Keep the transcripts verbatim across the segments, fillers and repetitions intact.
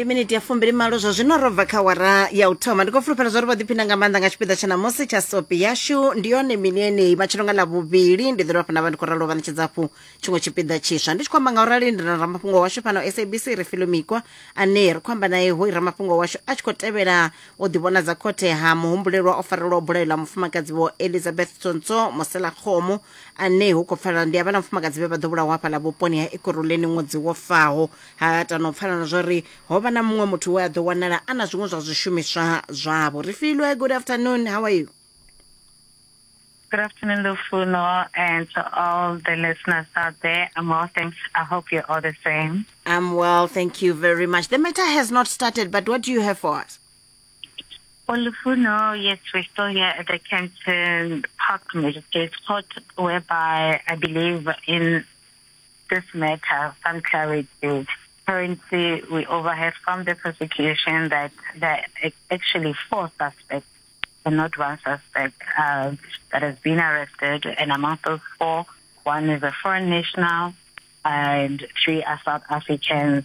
Ndi miniti ya fumbili malo zwa zwino ro bva kha wara ya u thoma. Ndi khou fulufhela zwa uri vho ḓiphina nga maanḓa nga tshipiḓa tsha ṋamusi tsha sopi yashu. Ndi yone mini yeneyi matshelo nga ḽa vhuvhili ndi ḓo dovha hafhu nda vha ndi khou ralo vha ṋetshedza hafhu tshiṅwe tshipiḓa tshiswa. Ndi tshi khou amba nga urali ndi na ramafhungo washu fhano S A B C Refilwe Mikwa ane ri khou amba naye hoyu ramafhungo washu a tshi khou tevhela u ḓivhonadza khothe ha muhumbulelwa o farelwa bulayo ḽa mufumakadzi Vho Elizabeth Tsontsho Moselakgomo ane hu khou pfala ndi havhaḽa mufumakadzi vhe vha ḓo vhulawa hafhaḽa vhuponi ha Ekurhuleni ṅwedzi wo faho. Ha tano pfala na zwori ho vha na muṅwe muthu we a ḓo wanala a na zwiṅwe zwa zwishumiswa zwavho. Refilwe, good afternoon, how are you? Good afternoon, Lufuno, and to all the listeners out there. I'm well, thanks. I hope you're all the same. I'm well, thank you very much. The matter has not started, but what do you have for us? Well, Lufuno, yes, we're still here at the Kempton Park Magistrates Court, whereby I believe in this matter, some clarity. Currently, we overheard from the prosecution that there are actually four suspects and not one suspect uh, that has been arrested. And among those four, one is a foreign national and three are South Africans.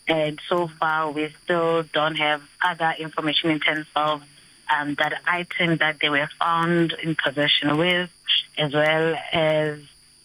And so far, we still don't have other information in terms of um, that item that they were found in possession with, as well as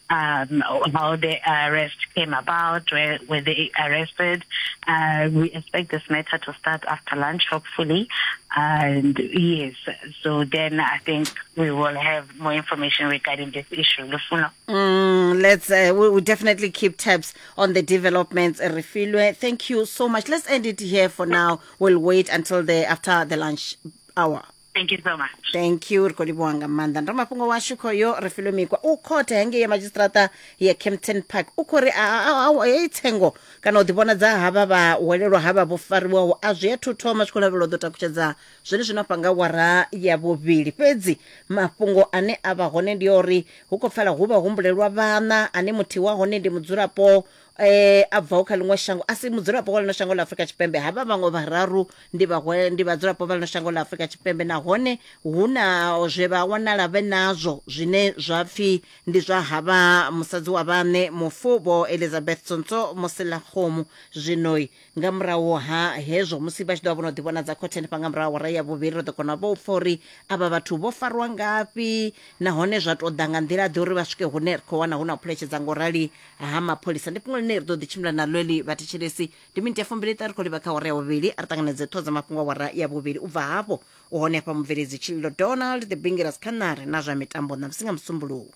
um, how the arrest came about, where were they arrested. Uh, we expect this matter to start after lunch, hopefully. And yes, so then I think we will have more information regarding this issue. Lufuno. Mm, let's uh, we will definitely keep tabs on the developments. Refilwe, thank you so much. Let's end it here for now. We'll wait until the after the lunch hour. Thank you so much. Thank you. Ri khou livhuwa nga maanḓa. Ndi mafhungo washu khoyo Refilwe Mikwa u khothe hangei ya madzhisiṱiraṱa ya Kempton Park. U khou ri heyi tsengo kana u ḓivhonadza havha vha welelwa havha vho fariwaho a zwi athu thoma, zwi khou lavhelelwa u ḓo takutshedza zwone zwino hafha nga wara ya vhuvhili. Fhedzi mafhungo ane a vha hone ndi uri hu khou pfala hu vha humbulelwa vhana ane muthihi wa hone ndi mudzulapo eh a bvaho kha ḽiṅwe shango, a si mudzulapo wa ḽino shango ḽa Afrika Tshipembe. Havha vhaṅwe vhararu ndi vha ndi vhadzulapo vha ḽino shango ḽa Afrika Tshipembe, nahone hu na zwe vha wanala vhe nazwo zwine zwa pfhi ndi zwa havha musadzi wa vhaṋe mufu Vho Elizabeth Tsontsho Moselakgomo. Zwino nga murahu ha hezwo musi vha tshi ḓo vha vho no ḓivhonadza khothe hanefha nga murahu awara ya vhuvhili, ri ḓo kona vho pfha uri avha vhathu vho farwa ngafhi nahone zwa tou ḓa nga nḓila ḓe uri vha swike hune ri khou wana hu na u phuletshedza ngo rali ha mapholisa. Ndi fhungo ḽine ri ḓo ḓi tshimbila naḽo heḽi vhathetshelesi. Ndi miniti ya fumbili ṱahe ri khou livha kha awara ya vhuvhili. A ri ṱanganedze ṱhoho dza mafhungo awara ya vhuvhili. U bva hafho u hone hafha mubveledzi Tshililo Donald the Bingiras Khanare na zwa mitambo ṋamusi nga Musumbuluwo.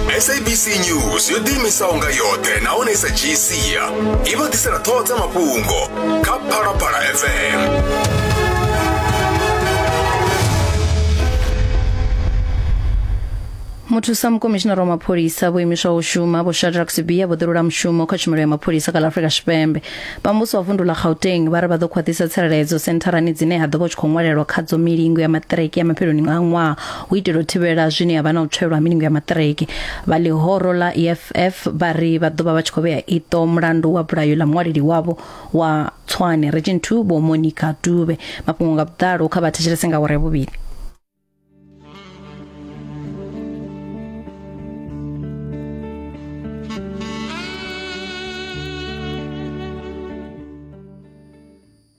S A B C News yo ḓiimisaho nga yoṱhe nahone sa dzhii sia i vha ḓisela ṱhoho dza mafhungo kha Phalaphala F M. Muthusa mukomishinara wa mapholisa vho imiswaho u shuma Vho Shadrack Sibiya vho ḓirula mushumo kha tshumelo ya mapholisa kha ḽa Afrika Tshipembe. Vha muvhuso wa vundu ḽa Gauteng vha ri vha ḓo khwaṱhisa tsireledzo sentharani dzine ha ḓo vha hu tshi khou ṅwalelwa khadzo milingo ya maṱiriki ya mafheloni a ṅwaha hu itela u thivhela zwine ya vha na u tswelwa ha milingo ya maṱiriki. Vha ḽihoro ḽa E F F vha ri vha ḓo vha vha tshi khou vhea iṱo mulandu wa bulayo ḽa muṅwaleli wavho wa Tshwane Region two Vho Monica Dube. Mafhungo nga vhuḓalo kha vha thetshelese nga awara ya vhuvhili.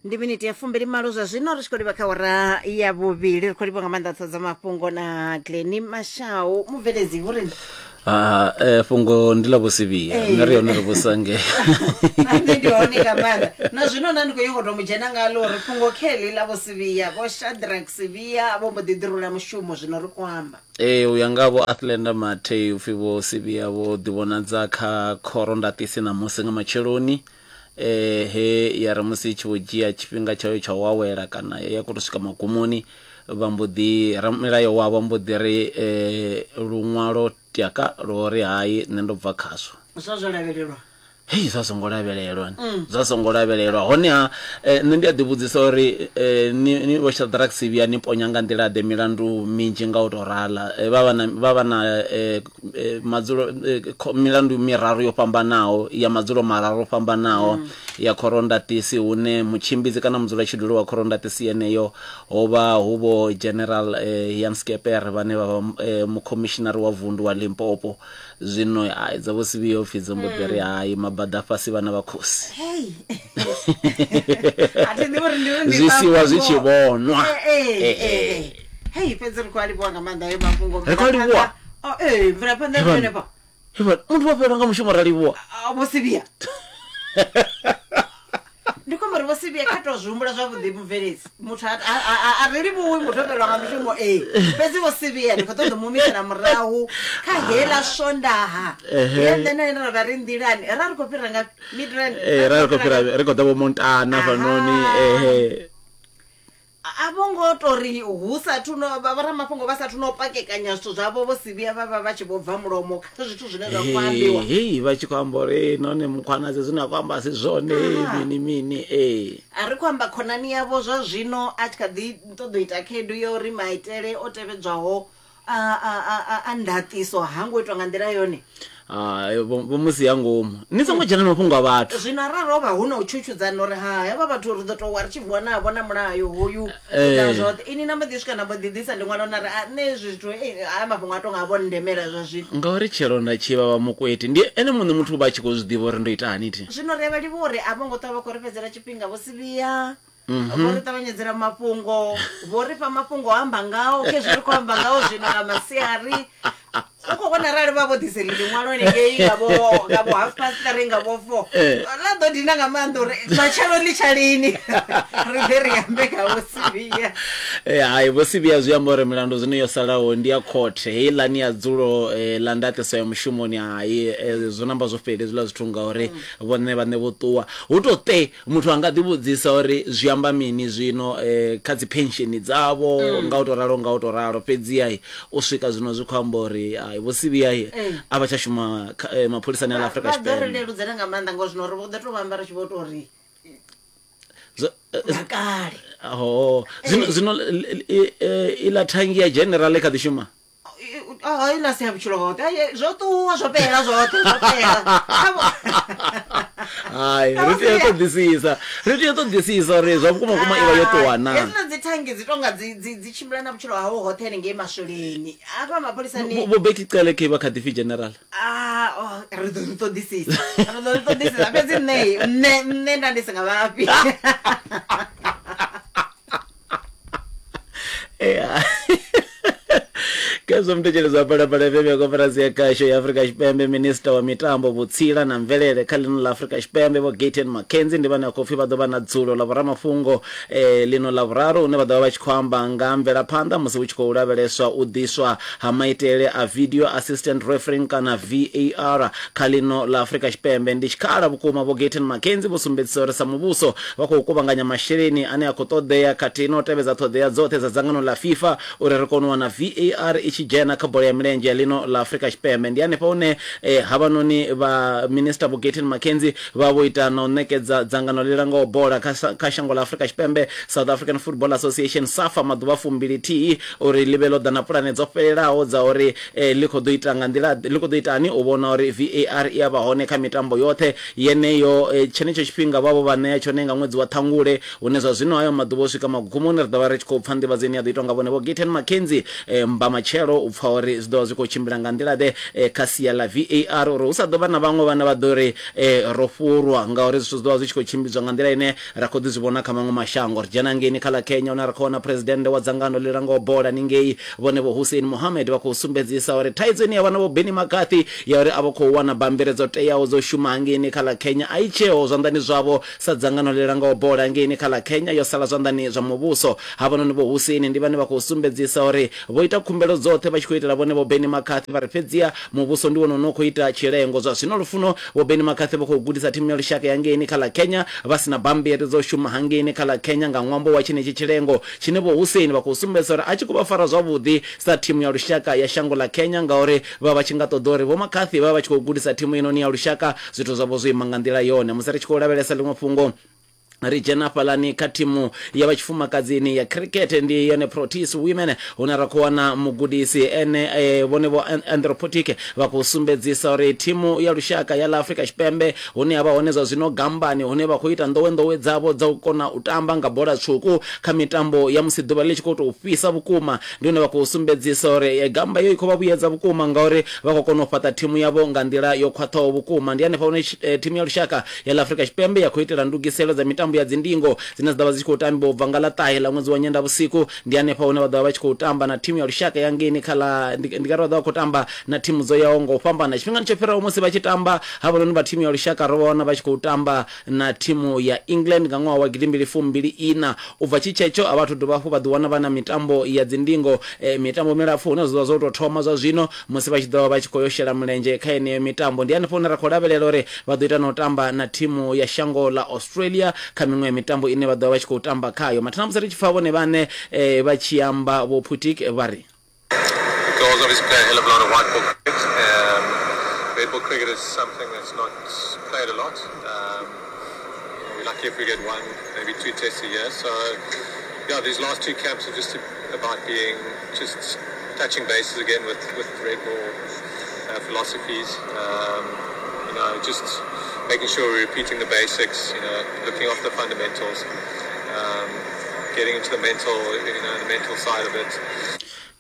Ndi miniti ya fumbili malo zwa zwino ri tshi khou livha kha awara ya vhuvhili. Ri khou livha nga maanḓa ṱhoho dza mafhungo na Glenny Mashau mubveledzi hu ri Ah, eh, fhungo ndi ḽa Vho Sibiya. Nṋe ri hone ri vhusa ngei. Nṋe ndi hone nga maanḓa na zwino nda ndi khou yo to mu dzhena ngalo uri fhungo kheḽi ḽa Vho Sibiya, Vho Shadrack Sibiya vho mbo ḓi ḓirula mushumo zwino ri khou amba. Ee, u ya nga Vho Athlenda Mathe upfhi Vho Sibiya vho ḓivhonadza kha khoro ndaṱisi ṋamusi nga matsheloni. Eh, he ya ri musi i tshi vho dzhia tshifhinga tshayo tsha u awela kana ya khou tou swika magumoni, vha mbo ḓi ramilayo wavho mbo ḓi ri eh, luṅwalo tiaka lwo ri hai nṋe ndo bva khazwo. Zwa zwo lavhelelwa. Hei, zwa songo lavhelelwa. Zwa songo lavhelelwa. Honeha eh, nṋe ndi a ḓivhudzisa uri eh, ni, ni Vho Shadrack Sibiya ni ponya nga nḓila ḓe milandu minzhi nga u tou rala. Eh, vha vha na, vha vha na eh, eh, madzulo eh, milandu miraru yo fhambanaho ya madzulo mararu o fhambanaho mm. ya khorondatisi hune mutshimbidzi kana mudzulatshidulo wa khorondatisi yeneyo ho vha hu Vho General eh, Jan Skeper vhane vha vha eh, mukhomishinari wa vundu wa Limpopo. Zwino ai dza vho Sibiya upfi dzo mbo ḓi ri hai mabada fhasi vhana vha khosi. Hey. A thi ḓivhi uri ndi ndi Zwi siwa zwi tshi vhonwa. Eh, eh, eh. Hei, fhedzi ri khou a livhuwa nga maanḓa hayo mafhungo. Ri khou a livhuwa. Oh, eh, mvelaphanḓa Hevha- henefha. Hevha, muthu wa fhelelwa nga mushumo ra livhuwa. Ah, Vho Sibiya. Ndi khou amba uri Vho Sibiya kha to zwi humbula zwavhuḓi mubveledzi. Muthu a a- a- a ri livhuwi muthu o fhelelwa nga mushumo ee. Fhedzi Vho Sibiya ndi khou ṱoḓa u mu humisela murahu kha heiḽa Swondaha. Ehe. Ye nṋe na ene ra vha ri nḓilani. Ra ri khou fhira nga Midrand. Eh, ra ri khou fhira ri khou ḓa vho Montana hafhanoni ehe. A vho ngo tori hu sathu no vha vhoramafhungo vha sathu no pakekanya zwithu zwavho Vho Sibiya vha vha vha tshi vho bva mulomo kha zwithu zwine zwa khou ambiwa. Hei, vha tshi khou amba uri nahone Mkhwanazi zwine a khou amba a si zwone mini mini ee. A ri khou amba khonani yavho zwa zwino a tshi kha ḓi ṱoḓa u ita khaedu ya uri maitele o tevhedzwaho a a a a ndaṱiso ha ngo itwa nga nḓila yone. Hai, vho vho musi ya ngomu ni songo dzhena mafhungo a vhathu. Zwino arali ho vha hu na u tshutshudza uri ha hevha vhathu ri ḓo tou wa ri tshi vuwa navho na mulayo hoyu Eh. na zwoṱhe ini na mbo ḓi swika na mbo ḓi ḓisa ḽiṅwalo na ri a nṋe hezwi zwithu eh, haya mafhungo a tonga a vho ndemela zwa zwino. Ngauri tshelo nda tshi vha vha mukweti ndi ene muṋe muthu vha tshi khou zwi ḓivha uri ndo ita hani thi. Zwino ri a vha livhuwa uri a vho ngo ṱwa vha khou ri fhedzela tshifhinga Vho Sibiya. Vho ri ṱavhanyedzela mafhungo, vho ri fha mafhungo o amba ngao khezwi ri khou amba ngao zwino nga masiari. U khou vhona arali vha vho ḓiseli ḽiṅwalo hanengei nga vho nga vho half past three nga vho four Eh. ḽa ḓo dina nga maanḓa uri matshelo ḽi tsha lini ri ḓe ri ambe kha Vho Sibiya. Eh, hai Vho Sibiya zwi amba uri milandu zwino yo salaho ndi ya khothe heiḽani ya dzulo eh, ḽa ndaṱiso ya mushumoni hai eh, zwo namba zwo fhela hezwiḽa zwithu ngauri vhone vhaṋe vho ṱuwa. Hu to te muthu anga ḓi vhudzisa uri zwi amba mini zwino eh, kha dzi pension dzavho nga u to ralo nga u to ralo fhedzi ai u swika zwino zwi khou amba uri ai Vho Sibiya ai a vha tsha shuma kha- eh, mapholisani a ḽa Afrika Vha ḓo ri Tshipembe. leludzela nga maanḓa ngori zwino ri vho ḓo tou vha amba ri tshi vho tou ri Zwo- eh, nga kale. ho zwino zwino iḽa thangi ya general i kha ḓi shuma. Iḽa si ya vhutshilo hoṱhe. Ai, zwo ṱuwa zwo fhela zwoṱhe zwo fhela. Kha vho- Hai, ri tea u ṱoḓisisa ri tea u ṱoḓisisa uri zwa vhukuma vhukuma i vha yo ṱuwa na. Hedzila dzi thangi dzi tonga dzi dzi dzi tshimbila na vhutshilo hawo hoṱhe hanengei maswoleni hafha mapholisani. Vho Bheki Cele khe vha kha ḓi pfi general. Ah, oh, ri ḓo ri ṱoḓisisa ri ḓo ri ṱoḓisisa fhedzi nṋe nṋe nṋe nda ndi si nga vhafhi. Yeah. Khezwo muthetshelezi wa Phalaphala F M ya koporasi ya khasho ya Afrika Tshipembe, minista wa mitambo, vhutsila na mvelele kha ḽino ḽa Afrika Tshipembe Vho Gayton McKenzie ndi vhane vha khou pfi vha ḓo vha na dzulo ḽa vhoramafhungo eh, ḽino ḽa vhuraru hune vha ḓo vha vha tshi khou amba nga mvelaphanḓa musi hu tshi khou lavheleswa u ḓiswa ha maitele a video assistant refereeing kana V A R kha ḽino ḽa Afrika Tshipembe. Ndi tshikhala vhukuma Vho Gayton McKenzie vho sumbedzisa uri sa muvhuso vha khou kuvhanganya masheleni ane a khou ṱoḓea khathihi na u tevhedza ṱhoḓea dzoṱhe dza dzangano ḽa FIFA uri ri kone u wana V A R i tshi dzhena kha bola ya milenzhe ya ḽino ḽa Afrika Tshipembe. Ndi hanefha hune eh, havhanoni vha minista Vho Gayton McKenzie vha vho ita na u ṋekedza dzangano ḽi langaho bola kha sa- kha shango ḽa Afrika Tshipembe South African Football Association SAFA maḓuvha fumbili thihi uri ḽi vhe ḽo ḓa na pulane dzo fhelelaho dza uri eh, ḽi khou ḓo ita nga nḓila ḽi khou ḓo itani u vhona uri V A R i a vha hone kha mitambo yoṱhe yeneyo. Eh, tshenetsho tshifhinga vha vho vha ṋea tshone nga ṅwedzi wa Ṱhangule hune zwa zwino hayo maḓuvha o swika magumoni ri ḓo vha ri tshi khou pfa nḓivhadzo ine ya ḓo itwa nga vhone Vho Gayton McKenzie eh, mba matshelo u pfa uri zwi ḓo vha zwi khou tshimbila nga nḓila ḓe eh, kha sia ḽa V A R uri hu sa ḓo vha na vhaṅwe vhana vha ḓo ri eh, ro fhurwa ngauri zwithu zwi ḓo vha zwi tshi khou tshimbidzwa nga nḓila ine ra khou ḓi zwi vhona kha maṅwe mashango. Ri dzhena ngeini kha ḽa Kenya hune ra khou wana president wa dzangano ḽi langaho bola ningei vhone Vho Hussein Mohammed vha khou sumbedzisa uri thaidzo ine ya vha na Vho Benny McCarthy ya uri a vha khou wana bammbiri dzo teaho dzo shuma hangeini kha ḽa Kenya a i tsheho zwanḓani zwavho sa dzangano ḽi langaho bola ngeini kha ḽa Kenya yo sala zwanḓani zwa muvhuso. Havhanoni Vho Hussein ndi vhane vha khou sumbedzisa uri vho ita khumbelo dzoṱhe vha tshi khou itela vhone Vho Benny McCarthy vha ri fhedziha muvhuso ndi wone une u khou ita tshilengo. Zwa zwino lufuno Vho Benny McCarthy vha khou gudisa thimu ya lushaka ya ngeini kha ḽa Kenya vha sina bammbiri dzo shuma hangeini kha ḽa Kenya nga ṅwambo wa tshenetshi tshilengo tshine Vho Hussein vha khou sumbedzisa uri a tshi khou vha fara zwavhuḓi sa thimu ya lushaka ya shango ḽa Kenya ngauri vha vha tshi nga ṱoḓa uri Vho McCarthy vha vha tshi khou gudisa thimu inoni ya lushaka zwithu zwavho zwo ima nga nḓila yone. Musi ri tshi khou lavhelesa ḽiṅwe fhungo Ri dzhena fhalani kha thimu ya vhatshifumakadzini ya cricket, ndi yone Proteas Women, hune ra khou wana mugudisi ene eh, vhone vho Anthropotic vha khou sumbedzisa uri thimu ya lushaka ya ḽa Afrika Tshipembe hune ha vha hone zwa zwino gambani, hune vha khou ita nḓowenḓowe dzavho dza u kona u tamba nga bola tswuku kha mitambo ya musi ḓuvha ḽi tshi khou tou fhisa vhukuma. Ndi hune vha khou sumbedzisa uri gamba iyo i khou vha vhuyedza vhukuma ngauri vha khou kona u fhaṱa thimu yavho nga nḓila yo khwaṱhaho vhukuma. Ndi hanefha hune thimu ya lushaka ya ḽa Afrika Tshipembe ya khou itela ndugiselo dza mitambo ya dzindingo dzine dza ḓovha dzi tshi khou tambiwa ubva nga ḽa ṱahe ḽa ṅwedzi wa Nyendavhusiku. Ndi hanefha hune vha ḓovha vha tshi khou tamba na thimu ya lushaka ya ngeini kha ḽa ndi nga ri vha ḓovha vha khou tamba na thimu dzo yaho nga u fhambana. Tshifhingani tsho fhiraho musi vha tshi tamba havhanoni vha thimu ya lushaka ro vha wana vha tshi khou tamba na thimu ya England nga ṅwaha wa gidimbili fumbili ina. U bva tshitshetsho a vhathu dovha hafhu vha ḓi wana vha na mitambo ya dzindingo, e, mitambo milapfu hune zwa zwo tou thoma zwa zwino musi vha tshi ḓovha vha tshi khou yo shela mulenzhe kha yeneyo mitambo. Ndi hanefho hune ra khou lavhelela uri vha ḓo ita na u tamba na thimu ya shango ḽa Australia kha miṅwe ya mitambo ine vha ḓovha vha tshi khou tamba khayo. Mathina musi ri tshi pfa vhone vhane eh, vha tshi amba vho Putik vha ri The girls obviously play a hell of a lot of white ball cricket. Um, red ball cricket is something that's not played a lot. Um, we're lucky if we get one, maybe two tests a year. So, yeah, these last two camps are just about being just touching bases again with, with red ball uh, philosophies. Um, you know, just making sure we're repeating the basics, you know, looking after the fundamentals, um, getting into the mental, you know, the mental side of it.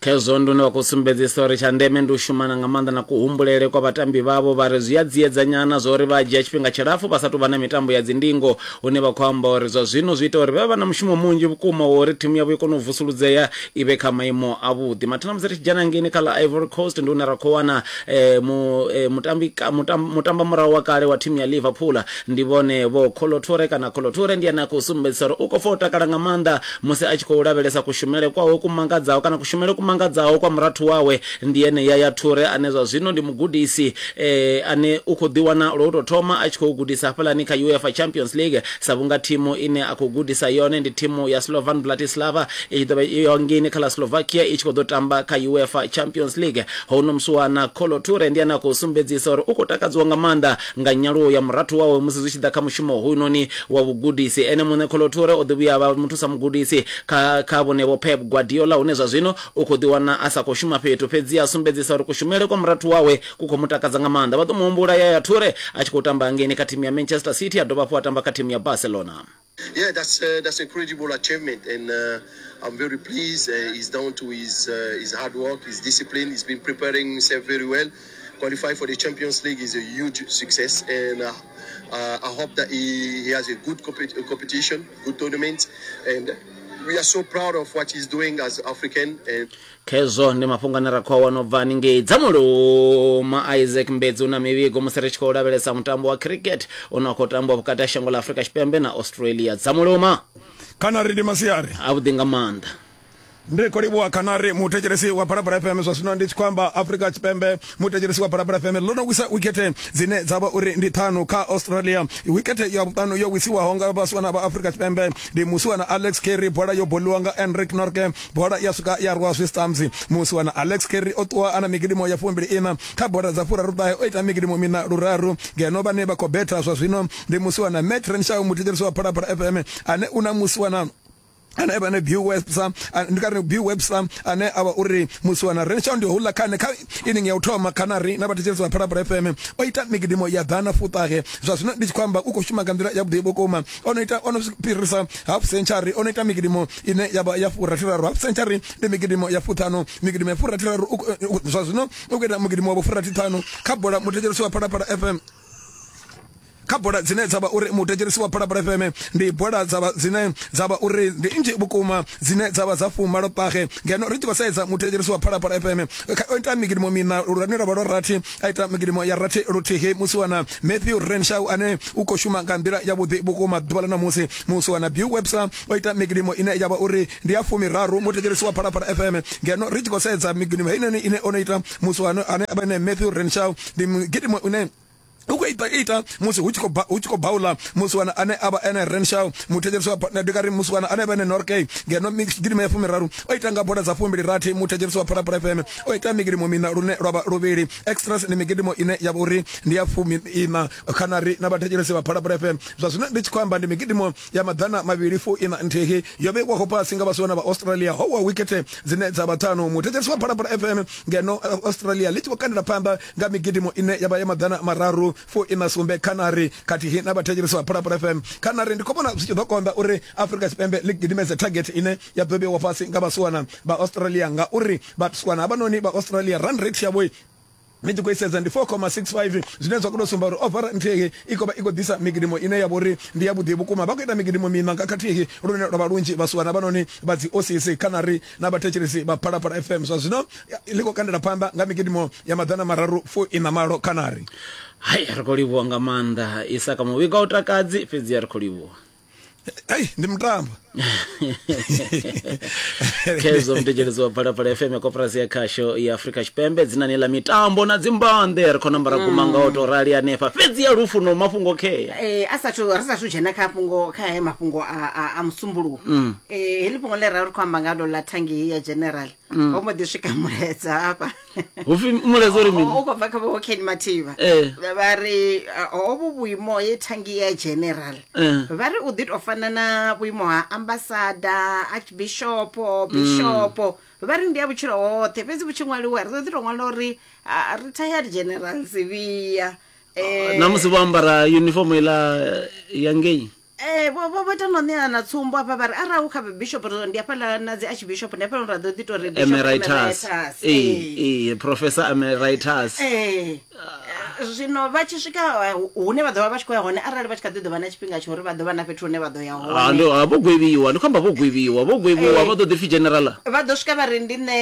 Khezwo ndi hune vha khou sumbedzisa uri tsha ndeme ndi u shumana nga maanḓa na kuhumbulele kwa vhatambi vhavho. Vha ri zwi a dziedzanyana zwa uri vha dzhia tshifhinga tshilapfu vha sathu vha na mitambo ya dzindingo, hune vha khou amba uri zwa zwino zwi ita uri vha vha na mushumo munzhi vhukuma wa uri thimu yavho i kone u vusuludzea i vhe kha maimo avhuḓi. Mathina musi ri tshi dzhena ngeini kha ḽa Ivory Coast ndi hune ra khou wana eh, mu, eh, mutambi, mutam, mutamba murahu wa kale wa thimu ya Liverpool, ndi vhone vho Kolo Toure kana Kolo Toure, ndi ane a khou sumbedzisa uri u khou pfa u takala nga maanḓa musi a tshi khou lavhelesa kushumele kwawe kumangadzaho kana kushumele kumangadzaho kwa murathu wawe, ndi ene Yaya Toure ane zwa zwino ndi mugudisi eh, ane u khou ḓiwana lwo tou thoma a tshi khou gudisa hafhalani kha UEFA Champions League, sa vhunga thimu ine a khou gudisa yone ndi thimu ya Slovan Bratislava i ḓo vha yo ngini kha ḽa Slovakia i tshi khou ḓo tamba kha UEFA Champions League. Hono musiwana Kolo Toure ndi ane a khou sumbedzisa uri u khou takadziwa nga maanḓa nga nyaluwo ya murathu wawe musi zwi tshi ḓa kha mushumo hoyunoni wa vhugudisi. Ene muṋe Kolo Toure o ḓi vhuya vha muthusa mugudisi kha kha vhone vho Pep Guardiola, hune zwa zwino u khou ḓiwana a sa khou shuma fhethu, fhedzi a sumbedzisa uri kushumele kwa murathu wawe ku khou mu takadza nga maanḓa. Vha ḓo mu humbula Yaya Toure a tshi khou tamba ngeni kha thimu ya Manchester City, a dovha hafhu a tamba kha thimu ya Barcelona. Yeah, that's uh, that's incredible achievement, and uh, I'm very pleased. Uh, he's down to his uh, his hard work, his discipline. He's been preparing himself very well. Qualify for the Champions League is a huge success, and uh, uh, I hope that he, he has a good compet- competition, good tournament, and we are so proud of what he's doing as African. And Khezwo ndi mafhungo ane ra khou a wana u bva haningei Dzamuluma. Isaac Mbedzi una mivhigo musi ri tshi khou lavhelesa mutambo wa cricket une wa khou tambiwa vhukati ha shango ḽa Afrika Tshipembe na Australia. Dzamuluma kana ri ndi masiari avhuḓi nga maanḓa. Ndi khou livhuwa Khanari muthetshelesi wa Phalaphala F M. Zwa zwino ndi tshi khou amba Afrika Tshipembe, muthetshelesi wa Phalaphala F M ḽo no wisa wikete dzine dza vha uri ndi ṱhanu kha Australia. Wikete ya vhuṱanu yo wisiwaho nga vhasiwana vha Afrika Tshipembe ndi musiwana Alex Carey, bola yo boliwa nga Enric Norke, bola ya swika ya rwa zwi Musiwana Alex Carey o ṱuwa ana migidimo ya fumbili ina kha bola dza furaru ṱahe, o ita migidimo mina luraru. Ngeno vhane vha khou betha zwa zwino ndi musiwana Matt Renshaw, muthetshelesi wa Phalaphala F M ane una musiwana ane avha ne Bill Webster, ndi kare Bill Webster ane avha uri musiwana Renshaw ndi hula khane kha inning ya u thoma Khanari na vhathetshelesi vha Phalaphala F M o ita migidimo ya ḓana fuṱahe. Zwa zwino ndi tshi khou amba u khou shuma nga nḓila ya vhuḓi vhukuma, o no ita o no fhirisa half century, o no ita migidimo ine ya vha ya furathiraru. Half century ndi migidimo ya fuṱhanu, migidimo ya furathiraru zwa zwino u khou ita migidimo wa furathithanu kha bola muthetshelesi wa Phalaphala F M. Kha bola dzine dza vha uri muthetshelesi wa Phalaphala F M ndi bola dza vha dzine dza vha uri ndi nnzhi vhukuma dzine dza vha dza fumalo ṱahe. Ngeno ri tshi khou sedza muthetshelesi wa Phalaphala F M o ita migidimo mina lune lwa vha lwa rathi, a ita migidimo ya rathi luthihi. Musiwana Matthew Renshaw ane u khou shuma nga nḓila ya vhuḓi vhukuma ḓuvha ḽa ṋamusi. Musiwana Bill Webster o ita migidimo ine ya vha uri ndi ya fumiraru muthetshelesi wa Phalaphala F M. Ngeno ri tshi khou sedza migidimo heinoni ine o no ita musiwana ane a vha ene Matthew Renshaw ndi migidimo ine U khou ita ita musi hu tshi khou hu tshi khou baula musiwana ane a vha ene Renshaw muthetshelesi wa ndi kari musiwana ane vha ene Norkay ngeno migidimo ya fumiraru o ita nga bola dza fumbili rathi muthetshelesi wa Phalaphala F M o ita migidimo mina lune lwa vha luvhili extras ni migidimo ine ya vha uri ndi ya fumi ina khanari na vhathetshelesi vha Phalaphala F M. Zwa zwino ndi tshi khou amba ndi migidimo ya maḓana mavhili fu ina nthihi yo vheiwaho fhasi nga vhasiwana vha Australia ho wa wikete dzine dza vha ṱhanu muthetshelesi wa Phalaphala F M ngeno Australia ḽi tshi khou kandela phanḓa nga migidimo ine ya vha ya maḓana mararu fu ina sumbe khanari khathihi na vhathetshelesi vha Phalaphala F M. Khanari ndi khou vhona zwi tshi ḓo konḓa uri Afrika Tshipembe ḽi gidimedze target ine ya ḓo vheiwa fhasi nga vhasiwana vha Australia ngauri vhasiwana havhanoni vha Australia run rate yavho ni tshi khou isedza ndi four comma six five zwine zwa khou sumba uri over nthihi i khou vha i khou ḓisa migidimo ine ya vha uri ndi ya vhuḓi vhukuma. Vha khou ita migidimo miṋa nga khathihi lune lwa vha lunzhi vhasiwana vhanoni vha dzi O C C khanari na vhathetshelesi vha Phalaphala F M. Zwa zwino ḽi khou kandela phanḓa nga migidimo ya maḓana mararu fu ina malo khanari. Hai, ri khou livhuwa nga maanḓa Isaka muvhigo u takadzi, fhedzi ri khou livhuwa. Ei, ndi mutambo. Kezo mthetshelesi wa Phalaphala F M koporasi ya khasho ya Afrika Tshipembe dzinani ḽa mitambo na dzimbanḓe ri khou nambara guma nga u to rali hanefha fhedzi ya lufu no mafhungo khea. Eh a sathu ri sathu dzhena kha fhungo kha he mafhungo a a, a musumbuluwo. Mm. Eh heḽi fhungo ḽe ra ri khou amba nga ḽo ḽa thangi ya general. Mm. Ho mbo ḓi swika mulaedza hafha. Hupfi mulaedza uri mini? U khou bva kha vho Ken Mathivha. Eh. Vha ri hovhu vhuimo ye thangi ya general. Eh. Vha ri u ḓi to fana na vhuimo ha ambassador, archbishop, bishop. Mm. Vha ri ndi ya vhutshilo hoṱhe fhedzi vhu tshi ṅwaliwa ri ḓo ḓi to ṅwala uri retired general Sibiya. Eh na musi vho ambara uniform ila ya ngei. Eh vho vho ita no ṋea na tsumbo afha vha ri arali u kha bishop ndi hafhaḽa na dzi archbishop ndi hafhaḽa ra ḓo ḓi to ri bishop emeritus. Eh eh professor emeritus. Eh zwino vha tshi swika hune vha ḓo vha vha tshi khou ya hone arali vha tshi kha ḓi ḓo vha na tshifhinga tsha uri vha ḓo vha na fhethu hune vha ḓo ya hone. Ah ndo vho gwevhiwa ndi khou amba vho gwevhiwa vho gwevhiwa vha ḓo ḓi pfi general. Vha ḓo swika vha ri ndi nṋe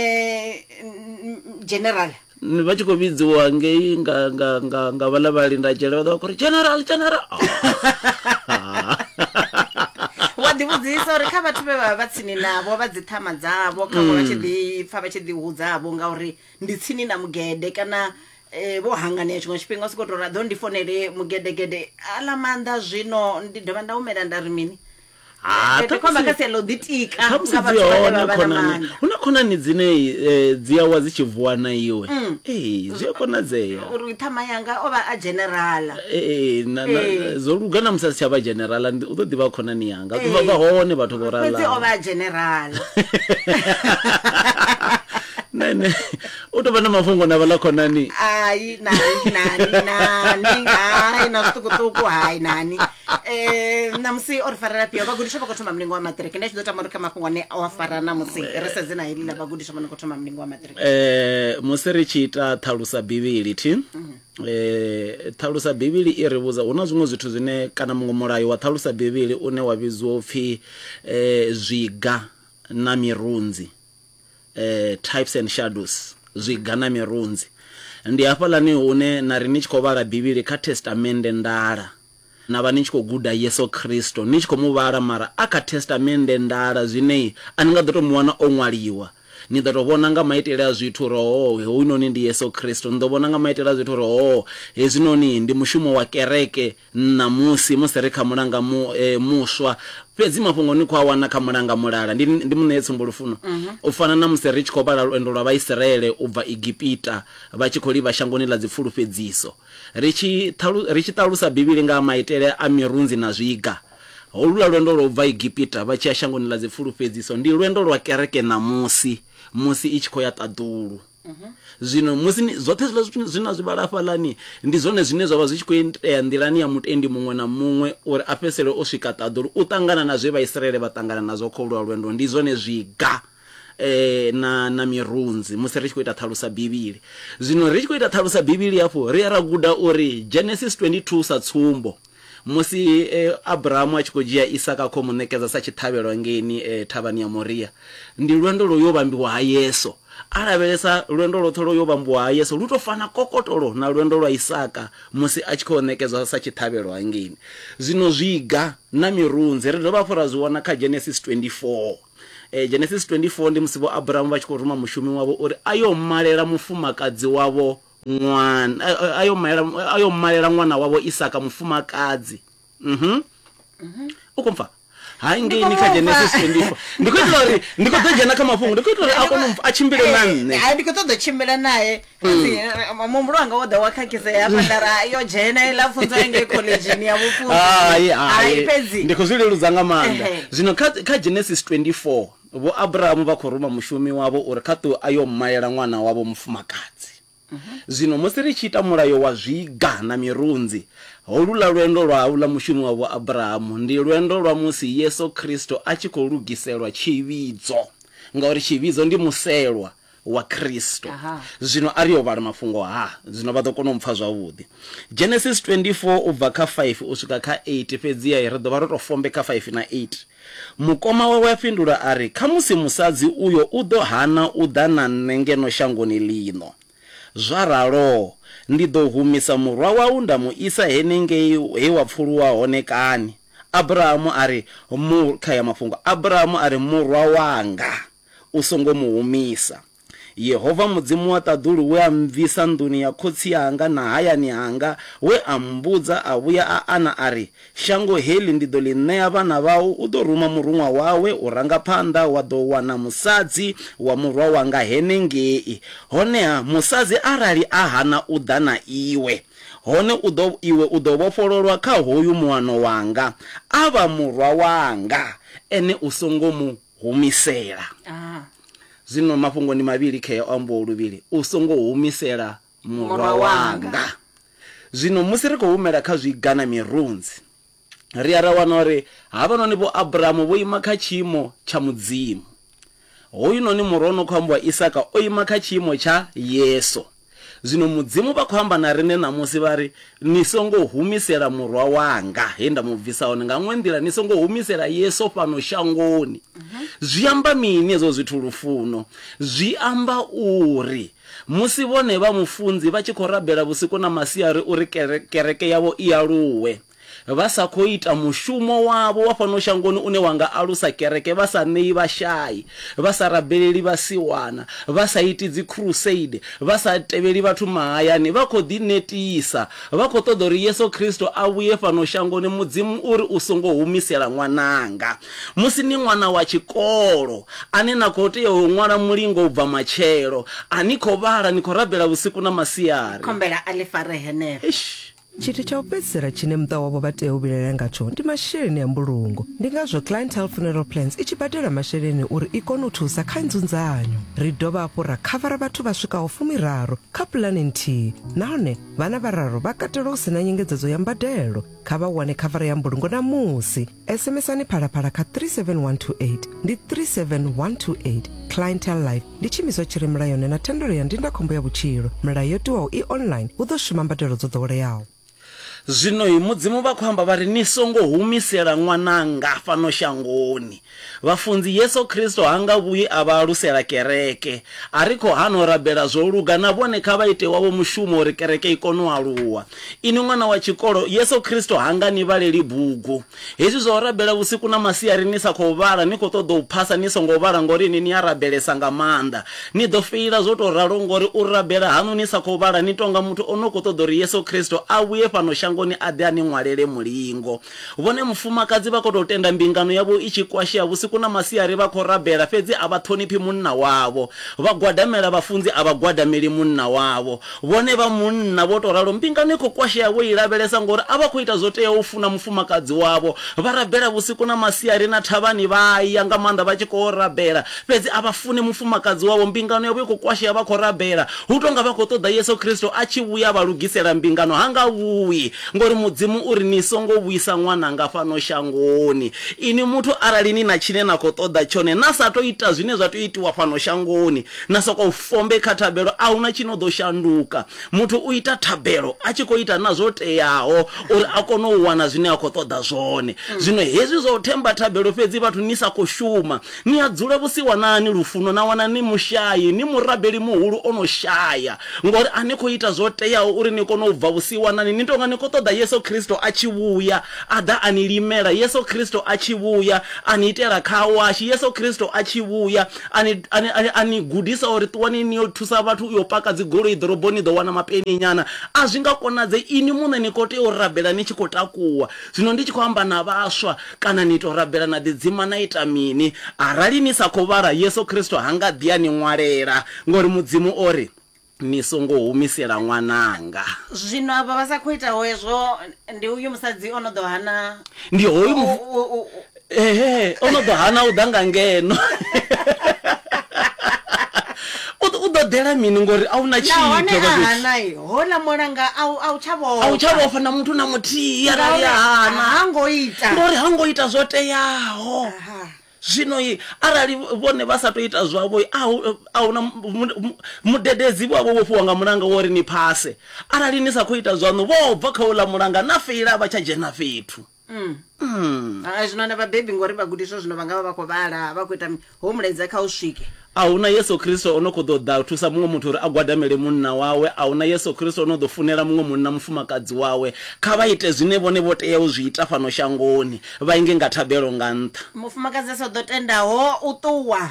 general. Vha tshi khou vhidziwa ngei nga nga nga nga vhaḽa vhalinda dzhele vha ḓo vha khou ri general general. Wa ḓi vhudzisa uri kha vhathu vhe vha vha tsini navho vha dzi ṱhama dzavho kha vha tshi ḓi pfa vha tshi ḓi hudzavho ngauri ndi tsini na mugede kana eh vho hanganea tshiṅwe tshifhinga u sokou tou ra ḓo ndi fonele mugedegede aḽa maanḓa zwino ndi dovha nda humela nda ri mini. Ah, khomba kha sia ḽo ḓitika nga vhathu vhane vha vha na maanḓa. Hu na khonani dzine dzi awa dzi tshi vuwa na iwe. Ee, zwi a konadzea uri ṱhama yanga o vha a generala. Ee, na zwo luga na musi a si tsha vha generala u ḓo ḓivha khonani yanga. Vha vha hone vhathu vho ralaho. Fhedzi o vha a generala. Nene u tou vha na mafhungo na vhaḽa khonani. Ai nani nani nani hai na zwiṱukuṱuku hai nani. Eh namusi o ri farela fhio vhagudiswa vha khou thoma mulingo wa maṱiriki nda tshi ḓo tama uri kha mafhungo ane o a fara namusi ri sedze na heḽi ḽa vhagudiswa vha no khou thoma mulingo wa maṱiriki. Eh musi ri tshi ita ṱhalusa Bivhili thi eh ṱhalusa Bivhili i ri vhudza hu na zwiṅwe zwithu zwine kana muṅwe mulayo wa ṱhalusa Bivhili une wa vhidziwa upfi eh zwiga na mirunzi. Eh, types and shadows zwiga na mirunzi ndi hafhaḽani hune na ri ni tshi khou vhala Bivhili kha Testamende ndala na vha ni tshi khou guda Yesu Kristo ni tshi khou mu vhala mara a kha Testamende ndala zwine a ni nga ḓo to mu wana o ṅwaliwa ni ḓo to vhona nga maitele a zwithu uri ho hoyunoni ndi Yesu Kristo ni ḓo vhona nga maitele a zwithu uri ho hezwinoni ndi mushumo wa kereke ṋamusi musi ri kha mulanga mu, e, muswa fhedzi mafhungo ni khou a wana kha mulanga mulala ndi ndi muṋee tsumbo lufuno. Mm-hmm. U fana na musi ri tshi khou vhala lwendo lwa Vhaisraele u bva Egipita vha tshi khou livha shangoni ḽa dzipfulufhedziso ri tshi ri tshi ṱalusa Bivhili nga maitele a mirunzi na zwiga. Holula lwendo lwa u bva Egipita vha tshi ya shangoni ḽa dzipfulufhedziso ndi lwendo lwa kereke ṋamusi musi i tshi khou ya ṱaḓulu. Zwino musi zwoṱhe zwiḽa zwithu zwine zwi vhala hafhaḽani ndi zwone zwine zwa vha zwi tshi khou itea nḓilani ya mutendi muṅwe na muṅwe uri a fhedzisele o swika ṱaḓulu u ṱangana na zwe Vhaisraele vha ṱangana nazwo kha ulwa lwendo ndi zwone zwiga eh na na mirunzi musi ri tshi khou ita ṱhalusa Bivhili. Zwino ri tshi khou ita ṱhalusa Bivhili hafho ri a ra guda uri Genesis twenty-two sa tsumbo musi eh, Abrahamu a tshi khou dzhia Isaka khou mu ṋekedza sa tshiṱhavhelo ngeini eh, thavhani ya Moria ndi lwendo lwo yo vhambiwa ha Yesu a lavhelesa lwendo lwoṱhe lwo yo vhambiwa ha Yesu lu to fana kokotolo na lwendo lwa Isaka musi a tshi khou ṋekedzwa sa tshiṱhavhelo hangeini. Zwino zwiga na mirunzi ri dovha hafhu ra zwi wana kha Genesis twenty-four. Eh, Genesis twenty-four ndi musi vho Abrahamu vha tshi khou ruma mushumi wavho uri a yo malela mufumakadzi wavho ṅwana a yo malela a yo malela ṅwana wavho Isaka mufumakadzi. Mhm. U khou mpfa hai ngeini kha Genesis twenty-four. Ndi khou itela uri ndi khou ḓo dzhena kha mafhungo, ndi khou itela uri a kone a tshimbile na nṋe. Hai ndi khou ṱoḓa tshimbila nae fhedzi muhumbulo wanga wo ḓa wa khakhisea hafha nda ra yo dzhena iḽa pfunzo ya ngei khoḽedzhini ya vhufunzi. Hai hai fhedzi ndi khou zwi leludza nga maanḓa. Zwino kha kha Genesis twenty-four vho Abrahamu vha khou ruma mushumi wavho uri kha ṱuwe a yo malela ṅwana wavho mufumakadzi. Zwino musi ri tshi ita mulayo wa zwiga na mirunzi, holuḽa lwendo lwa houḽa mushumi wa vho Abrahamu ndi lwendo lwa musi Yesu Kristo a tshi khou lugiselwa tshivhidzo, ngauri tshivhidzo ndi muselwa wa Kristo. Zwino a ri yo vhala mafhungo ha, zwino vha ḓo kona u mpfa zwavhuḓi. Genesis twenty-four u bva kha five u swika kha eight, fhedziha ri ḓo vha ro tou fombe kha five na eight. Mukoma wawe a fhindula a ri, khamusi musadzi uyo u ḓo hana u ḓa na nṋe ngeno shangoni ḽino. Zwa ralo ndi ḓo humisa murwa wau nda mu isa henengei he wa pfuluwa hone kani. Abrahamu a ri mu kha ya mafhungo Abrahamu a ri murwa wanga u songo mu humisa. Yehova Mudzimu wa ṱaḓulu we a mvisa nḓuni ya khotsi anga na hayani hanga, we a mbudza a vhuya a ana a ri, shango heḽi ndi ḓo ḽi ṋea vhana vhau, u ḓo ruma muruṅwa wawe u ranga phanḓa, wa ḓo wana musadzi wa murwa wanga henengei. Honeha musadzi arali a hana u ḓa na iwe, hone u ḓo iwe u ḓo vhofhololwa kha hoyu muano wanga, a vha murwa wanga, ene u songo mu humisela. Zwino mafhungo ndi mavhili khea o ambiwa luvhili, u songo humisela murwa wanga. Zwino musi ri khou humela kha zwiga na mirunzi, ri a ra wana uri havhanoni vho Abrahamu vho ima kha tshiimo tsha Mudzimu, hoyu noni murwa no khou ambiwa Isaka o ima kha tshiimo tsha Yesu. Zwino Mudzimu vha khou amba na riṋe ṋamusi vha ri, ni songo humisela murwa wanga he nda mu bvisa hone. Nga ṅwe nḓila, ni songo humisela Yesu fhano shangoni. Zwi amba mini hezwo zwithu lufuno? Zwi amba uri musi vhone vha mufunzi vha tshi khou rabela vhusiku na masiari uri kereke yavho i aluwe, vha sa khou ita mushumo wavho wa fhano shangoni une wa nga alusa kereke, vha sa ṋei vhashai, vha sa rabeleli vhasiwana, vha sa iti dzi crusade, vha sa tevheli vhathu mahayani, vha khou ḓi netisa, vha khou ṱoḓa uri Yesu Kristo a vhuye fhano shangoni. Mudzimu uri u songo humisela ṅwananga. Musi ni ṅwana wa tshikolo ane na khou tea u ṅwala mulingo u bva matshelo, a ni khou vhala, ni khou rabela vhusiku na masiari, khombela a ḽi fare henefho. Tshithu tsha u fhedzisela tshine muṱa wavho vha tea u vhilaela ngatsho ndi masheleni a mbulungo. Ndi ngazwo Clientele Funeral Plans i tshi badela masheleni uri i kone u thusa kha nzunzanyo. Ri dovha hafhu ra khavara vhathu vha swikaho fumiraru kha pulane nthihi, nahone vhana vhararu vha katelwa hu sina nyengedzedzo ya mbadelo. Kha vha wane khavara ya mbulungo namusi. SMSani Phalaphala kha three seven one two eight, ndi three seven one two eight. Clientele Life ndi tshiimiswa tshi re mulayoni na thendelo ya ndindakhombo ya vhutshilo. Milayo yo tiwaho i online, hu ḓo shuma mbadelo dzo ḓoweleaho. Zwino Mudzimu vha khou amba vha ri, ni songo humisela ṅwananga fhano shangoni. Vhafunzi, Yesu Kristo ha nga vhuyi a vha alusela kereke. A ri khou hana u rabela zwo luga, na vhone kha vha ite wavho mushumo uri kereke i kone u aluwa. Ini ṅwana wa tshikolo, Yesu Kristo ha nga ni vhaleli bugu. Hezwi zwa u rabela vhusiku na masiari ni sa khou vhala, ni khou ṱoḓa u phasa ni songo vhala ngori ni ni a rabelesa nga maanḓa, ni ḓo feila zwo tou ralo, ngori u rabela hanu ni sa khou vhala ni tonga muthu o no khou ṱoḓa uri Yesu Kristo a vhuye fhano shangoni a ḓe a ni ṅwalele mulingo. Vhone mufumakadzi vha khou tou tenda mbingano yavho i tshi kwashea vhusiku na masiari, vha khou rabela fhedzi a vha ṱhoniphi munna wavho, vha gwadamela vhafunzi a vha gwadameli munna wavho. Vhone vha munna vho tou ralo, mbingano i khou kwashea vho i lavhelesa ngori a vha khou ita zwo teaho u funa mufumakadzi wavho. Vha rabela vhusiku na masiari na thavhani vha ya nga maanḓa vha tshi khou rabela, fhedzi a vha funi mufumakadzi wavho, mbingano yavho i khou kwashea vha khou rabela. Hu tonga vha khou ṱoḓa Yesu Kristo a tshi vhuya vha lugisela mbingano, ha nga vhuyi, ngori Mudzimu uri ni songo vhuisa ṅwananga fhano shangoni. Ini muthu arali ni na tshine na khou ṱoḓa tshone na sa tou ita zwine zwa tea u itiwa fhano shangoni, na sokou fombe kha thabelo, a huna tshi no ḓo shanduka. Muthu u ita thabelo a tshi khou ita na zwo teaho uri a kone u wana zwine a khou ṱoḓa zwone. Zwino hezwi zwa u themba thabelo fhedzi vhathu ni sa khou shuma, ni a dzula vhusiwanani lufuno na wana ni mushayi, ni murabeli muhulu o no shaya, ngori a ni khou ita zwo teaho uri ni kone u bva vhusiwanani, ni tonga ni khou khou ṱoḓa Yesu Kristo a tshi vhuya a ḓa a ni limela, Yesu Kristo a tshi vhuya a ni itela khawashi, Yesu Kristo a tshi vhuya a ni a ni gudisa uri ṱuwani ni yo thusa vhathu u yo paka dzigoloi ḓoroboni ḓo wana mapeni nyana. A zwi nga konadze, ini muṋe ni khou tea u rabela ni tshi khou takuwa. Zwino ndi tshi khou amba na vhaswa, kana ni to rabela na ḓidzima na ita mini? Arali ni sa khou vhala, Yesu Kristo ha nga ḓi a ni ṅwalela, ngori Mudzimu o ri ni songo humisela ṅwananga. Zwino avha vha sa khou itaho hezwo ndi uyu musadzi o no ḓo hana, ndi hoyu ehe o no ḓo hana u ḓa nga ngeno. U ḓo ḓela mini ngori a una tshithu nahone a hanai hola mulanga a u tsha vhofha, a u tsha vhofha na muthu na muthihi arali a hana ha ngo ita, ngori ha ngo ita zwo teaho. Zwino arali vhone vha sa to ita zwavho, a huna mudededzi wavho wo fhiwa nga mulanga wo ri ni phase. Arali ni sa khou ita zwaṋu, vho bva kha uḽa mulanga na feila vha tsha dzhena fhethu. Mm. Mm. A zwino na vhabebi ngori vhagudiswa zwino vha nga vha vha khou vhala vha khou ita ho mulaedza kha u swike. A huna Yesu Kristo o no khou ḓo ḓa thusa muṅwe muthu uri a gwadamele munna wawe, a huna Yesu Kristo o no ḓo funela muṅwe munna mufumakadzi wawe. Kha vha ite zwine vhone vho tea u zwi ita fhano shangoni, vha inge nga thabelo nga nṱha. Mufumakadzi a sa ḓo tendaho u ṱuwa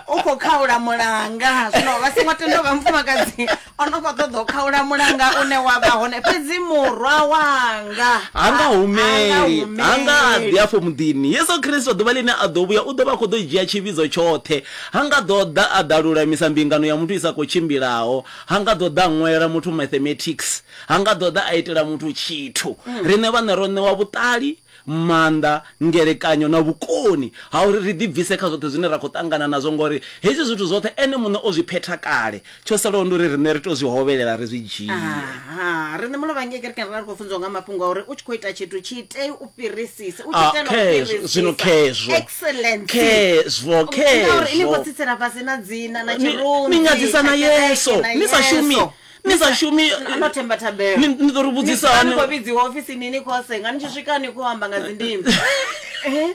u khou khaula mulanga. Zwino vha songo tenda vha mufumakadzi o no khou ṱoḓa u khaula mulanga une wa vha hone, fhedzi murwa wanga ha nga humeli, ha nga ḓi afho muḓini. Yesu Kristo ḓuvha ḽine a ḓo vhuya u ḓo vha khou ḓo dzhia tshivhidzo tshoṱhe. Ha nga ḓo ḓa a ḓa lulamisa mbingano ya muthu i sa khou tshimbilaho, ha nga ḓo ḓa ṅwela muthu mathematics, ha nga ḓo ḓa a itela muthu tshithu. Riṋe vhaṋe ro ṋewa vhuṱali, maanḓa, ngelekanyo na vhukoni ha uri ri ḓibvise kha zwoṱhe zwine ra khou ṱangana nazwo, ngori hezwi zwithu zwoṱhe ene muṋe o zwi phetha kale. Tsho salaho ndi uri riṋe ri to zwi hovhelela ri zwi dzhie. Aha, riṋe mulovha ngei kerekeni ra ri khou funziwa nga mafhungo a uri u tshi khou ita tshithu tshi itei u fhirisisa, u tshi itela u fhirisisa. Zwino khezwo excellence, khezwo khezwo ngauri ini khou tsitsela fhasi na dzina na tshirunzi, ni nyadzisa na Yesu, ni sa shumi, ni sa shumi no themba thabelo. Ni ḓo ri vhudzisa hani ni khou vhidziwa ofisini ni khou senga ni tshi swika ni khou amba nga dzindimi. Eh,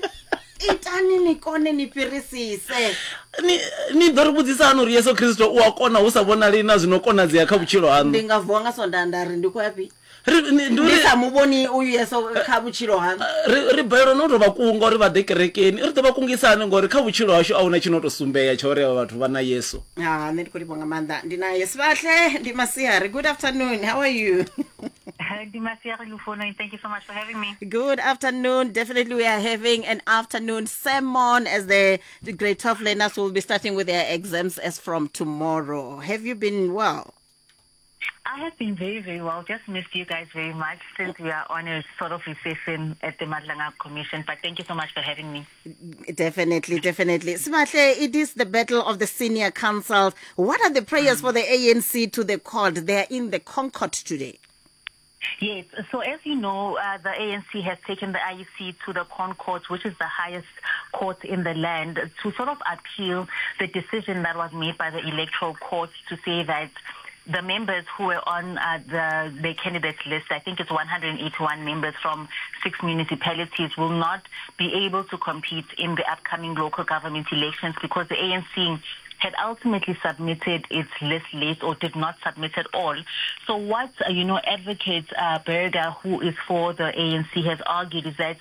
itani ni kone ni fhirisise. Ni ni ḓo ri vhudzisa hani uri Yesu Kristo u a kona hu sa vhonali na zwino konadzea kha vhutshilo haṋu? Ndi nga vuwa nga sonda nda ri ndi khou ya fhi? Ndi sa muvhoni uyu Yesu kha vhutshilo haṋu. Ri ri balelwa no to vha kunga uri vha ḓe kerekeni. Ri ḓo vha kungisa hani ngori kha vhutshilo hashu a huna tshino to sumbea tsha uri avha vhathu vha na Yesu. Ah, nṋe ndi khou livhuwa nga maanḓa. Ndi na Yesu Vhahle, ndi masiari. Good afternoon. How are you? Ndi masiari Lufuno, thank you so much for having me. Good afternoon. Definitely we are having an afternoon sermon as the, the grade twelve learners will be starting with their exams as from tomorrow. Have you been well? I have been very, very well. Just missed you guys very much since we are on a sort of recession at the Madlanga Commission. But thank you so much for having me. Definitely, definitely. Simahle, it is the battle of the senior council. What are the prayers mm. for the A N C to the court? They are in the Concord today. Yes. So as you know, uh, the A N C has taken the I E C to the Concord, which is the highest court in the land, to sort of appeal the decision that was made by the electoral court to say that the members who were on uh, the, the candidates list, I think it's one hundred eighty-one members from six municipalities, will not be able to compete in the upcoming local government elections because the A N C had ultimately submitted its list late or did not submit at all. So what, uh, you know, Advocate uh, Berger, who is for the A N C, has argued is that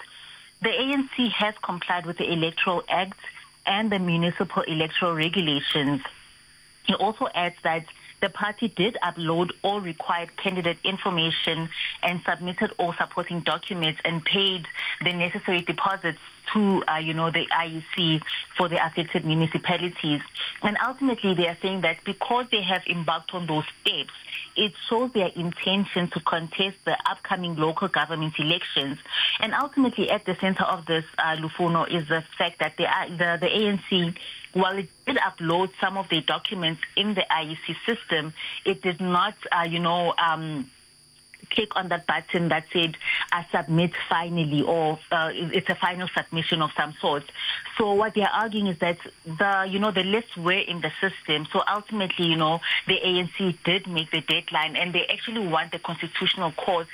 the A N C has complied with the Electoral Act and the municipal electoral regulations. He also adds that the party did upload all required candidate information and submitted all supporting documents and paid the necessary deposits to, uh, you know, the I E C for the affected municipalities. And ultimately, they are saying that because they have embarked on those steps, it shows their intention to contest the upcoming local government elections. And ultimately, at the center of this, uh, Lufuno, is the fact that the, the, the A N C, while it did upload some of their documents in the I E C system, it did not, uh, you know, um, click on that button that said uh, submit finally, or uh, it's a final submission of some sort. So what they're arguing is that the, you know, the lists were in the system. So ultimately, you know, the A N C did make the deadline, and they actually want the Constitutional Court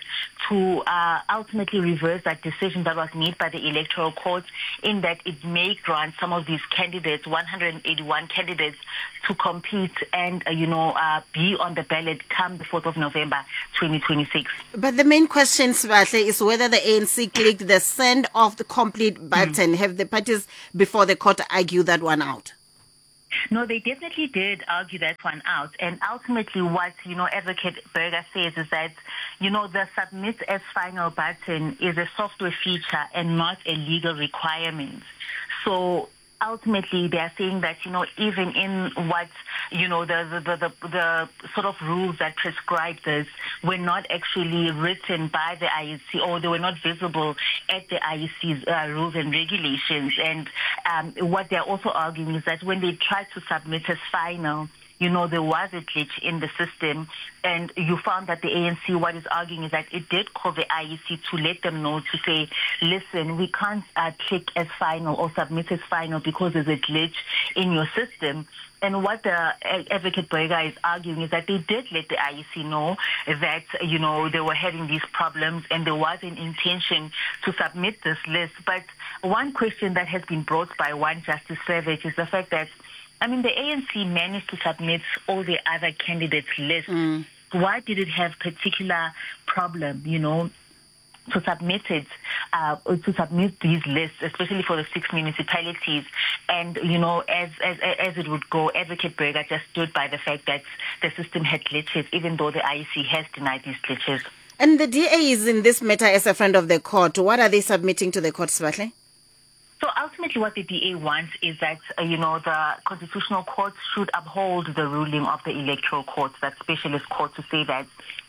to uh, ultimately reverse that decision that was made by the Electoral Court, in that it may grant some of these candidates, one hundred eighty-one candidates, to compete and, uh, you know, uh, be on the ballot come the fourth of November twenty twenty-six. But the main question, Sibahle, is whether the A N C clicked the send off the complete button. Mm. Have the parties before the court argue that one out? No, they definitely did argue that one out. And ultimately what, you know, Advocate Berger says is that, you know, the submit as final button is a software feature and not a legal requirement. So ultimately, they are saying that, you know, even in what, you know, the, the, the, the sort of rules that prescribe this were not actually written by the I E C, or they were not visible at the I E C's uh, rules and regulations. And um, what they're also arguing is that when they tried to submit as final, you know, there was a glitch in the system, and you found that the A N C, what is arguing is that it did call the I E C to let them know, to say, listen, we can't uh, click as final or submit as final because there's a glitch in your system. And what the Advocate Berger is arguing is that they did let the I E C know that, you know, they were having these problems and there was an intention to submit this list. But one question that has been brought by one Justice Savage is the fact that, I mean, the A N C managed to submit all the other candidates' lists. Mm. Why did it have particular problem, you know, to submit it, uh, to submit these lists, especially for the six municipalities? And, you know, as, as, as it would go, Advocate Berger just stood by the fact that the system had glitches, even though the I E C has denied these glitches. And the D A is in this matter as a friend of the court. What are they submitting to the court, Sibahle? So ultimately what the D A wants is that, uh, you know, the Constitutional Court should uphold the ruling of the Electoral Court, that specialist court, to say that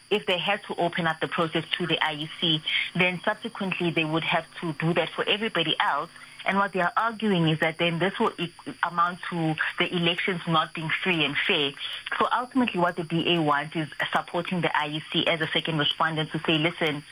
if they had to open up the process to the I E C, then subsequently they would have to do that for everybody else. And what they are arguing is that then this will e- amount to the elections not being free and fair. So ultimately what the D A wants is supporting the I E C as a second respondent to say, listen,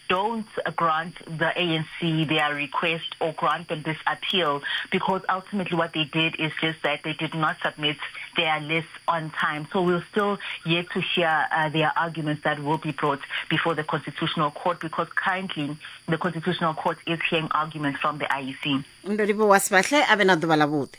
don't grant the A N C their request or grant them this appeal, because ultimately what they did is just that they did not submit their list on time. So we'll still yet to hear uh, their arguments that will be brought before the Constitutional Court, because currently the Constitutional Court is hearing arguments from the I E C. Ndo livhuwa Sibahle, ave na ḓuvha ḽavhuḓi.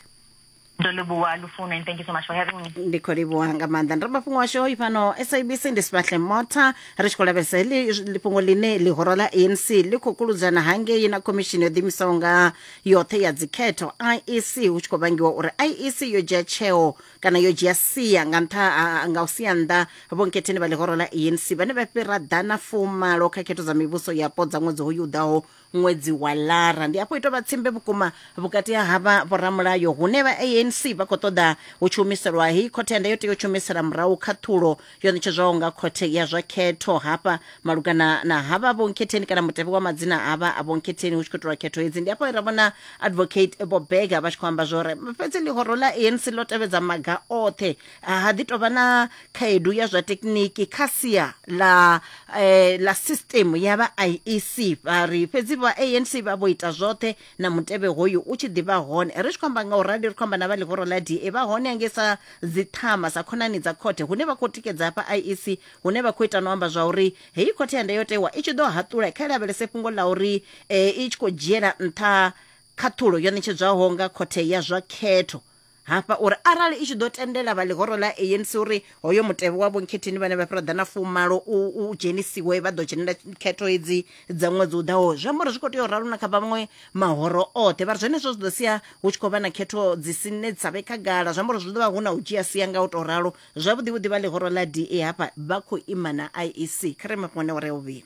Ndo livhuwa Lufuno, and thank you so much for having me. Ndi khou livhuwa nga maanḓa. Ndi mafhungo ashu hoyu fhano S A B C ndi Sibahle Motha. Ri tshi khou lavhelesa heḽi fhungo ḽine ḽihoro ḽa A N C ḽi khou kuludzana hangei na khomishini yo ḓiimisaho nga yoṱhe ya dzikhetho I E C, hu tshi khou vhangiwa uri I E C yo dzhia tsheo kana yo dzhia sia nga nṱha nga u sia nnḓa vhonkhetheni vha ḽihoro ḽa A N C vhane vha fhira ḓana fumalo kha khetho dza mivhuso yapo dza ṅwedzi hoyu u ḓaho, ṅwedzi wa Lara. Ndi afho ito vha tsimbe vhukuma vhukati ha havha vhoramulayo, hune vha A N C vha khou ṱoḓa hu tshi humiselwa hei khothe ya ndayotewa yo tshumisela murahu khaṱhulo yo ṋetshedzwaho nga khothe ya zwa khetho hafha malugana na havha vhonkhetheni kana mutevhe wa madzina avha a vhonkhetheni hu tshi khou itelwa khetho hedzi. Ndi afho ra vhona Advocate Bobega vha tshi khou amba zwori fhedzi ḽihoro ḽa A N C ḽo tevhedza maga oṱhe, ha ḓi tovha na khaedu ya zwa tekniki kha sia ḽa eh, ḽa system ya vha I E C. Vha ri fhedzi vha A N C vha vho ita zwoṱhe na mutevhe hoyu u tshi ḓivha hone. Ri tshi khou amba nga u rali ri khou amba na vha ḽihoro ḽa D A vha hone hangei sa dziṱhama sa khonani dza khothe, hune vha khou tikedza hafha I E C, hune vha khou ita no amba zwa uri heyi khothe ya ndayotewa i tshi ḓo haṱula kha lavhelese fhungo ḽa uri eh, i tshi khou dzhiela nṱha khaṱhulo yo ṋetshedzwaho nga khothe ya zwa khetho hafha, uri arali i tshi ḓo tendela vha ḽihoro ḽa A N C uri hoyo mutevhe wa vhonkhetheni vhane vha fhira ḓana fumalo u, u dzhenisiwe vha ḓo dzhenela khetho hedzi dza ṅwedzi u ḓaho. Zwi amba uri zwi khou tea u ralo na kha vhaṅwe mahoro oṱhe. Vha ri zwenezwo zwi ḓo sia hu tshi khou vha na khetho dzi sine dza vhe khagala, zwi amba uri zwi ḓo vha hu na u dzhia sia nga u tou ralo. Zwavhuḓi vhuḓi vha ḽihoro ḽa D A hafha vha khou ima na I E C. Kha ri mafhungo ane wa ri ya vhuvhili.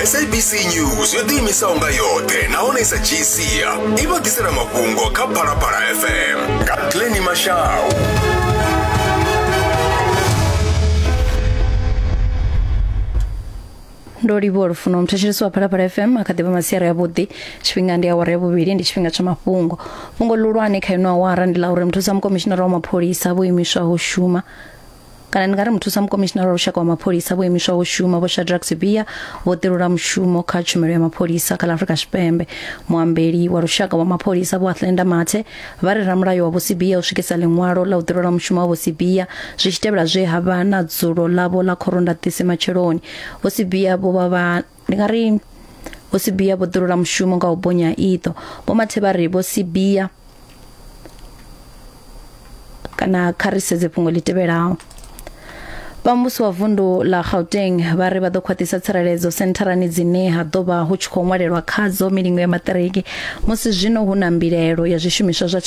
S A B C News yo ḓiimisaho nga yoṱhe nahone i sa dzhii sia i vha ḓisela mafhungo kha Phalaphala F M nga Glenny Mashau. Ndo livhuwa Lufuno. Muthetshelesi wa Phalaphala F M a kha ḓivha masiari avhuḓi. Tshifhinga ndi awara ya vhuvhili, ndi tshifhinga tsha mafhungo. Fhungo ḽihulwane kha ino awara ndi ḽa uri muthusa mukomishinara wa mapholisa vho imiswaho shuma Kana ndi nga ri muthusa mukomishinara wa lushaka wa mapholisa vho imiswaho u shuma Vho Shadrack Sibiya vho ḓirula mushumo kha tshumelo ya mapholisa kha ḽa Afrika Tshipembe. Muambeli wa lushaka wa mapholisa Vho Athlenda Mathe vha ri ramulayo wa Vho Sibiya u swikisa ḽiṅwalo ḽa u ḓirula mushumo wa Vho Sibiya zwi tshi tevhela zwe ha vha na dzulo ḽavho ḽa khorondaṱisi matsheloni. Vho Sibiya vho vha vha ndi nga ri Vho Sibiya vho ḓirula mushumo nga u bonya iṱo. Vho Mathe vha ri Vho Sibiya kana kha ri sedze fhungo ḽi tevhelaho. Vha muvhuso wa vundu ḽa Gauteng vha ri vha ḓo khwaṱhisa tsireledzo sentharani dzine ha ḓo vha hu tshi khou ṅwalelwa khadzo milingo ya maṱiriki musi zwino hu na mbilaelo ya zwishumiswa zwa